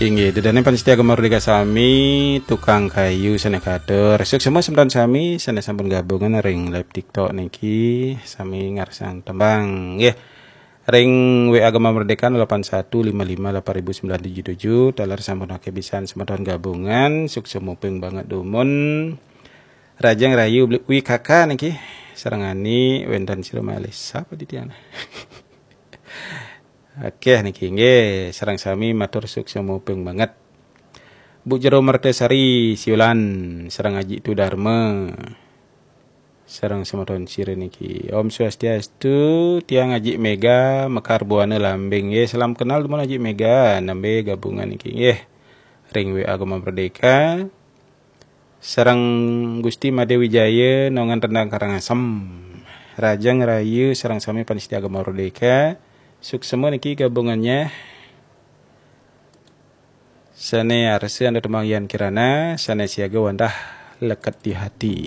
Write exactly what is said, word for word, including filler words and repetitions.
Inggih, ida dané pamiarsa Gema Merdeka sami, tukang kayu sané katur. Suksma semeton sami sané sampun gabungan ring live TikTok niki, sami ngarsang tembang. Nggih. Ring W A Gema Merdeka nol delapan satu lima lima delapan ribu sembilan tujuh tujuh, taler sampun akéh pisan semeton gabungan, suksma ping banget dumun. Rahajeng rahayu beli W K K niki, sareng Ani wénten sira malih sapa titiang. Akéh niki nggih, sareng sami matur suksma ping banget. Bu Jero Mertasari Siulan, sareng Aji Tudarma. Sareng semeton sira niki. Om Swastiastu, tiang Aji Mega, Mekar Buana Lambing nggih. Salam kenal dumun Aji Mega, nembé gabungan niki nggih. Ring W A Gema Merdeka. Sareng Gusti Madé Wijaya, Nongan Rendang Karangasem. Rahajeng rahayu sareng sami pamiarsa Gema Merdeka. Suksma niki gabungannya. Sané arsa anda tembang Yan Kirana, sané siaga wantah leket di hati.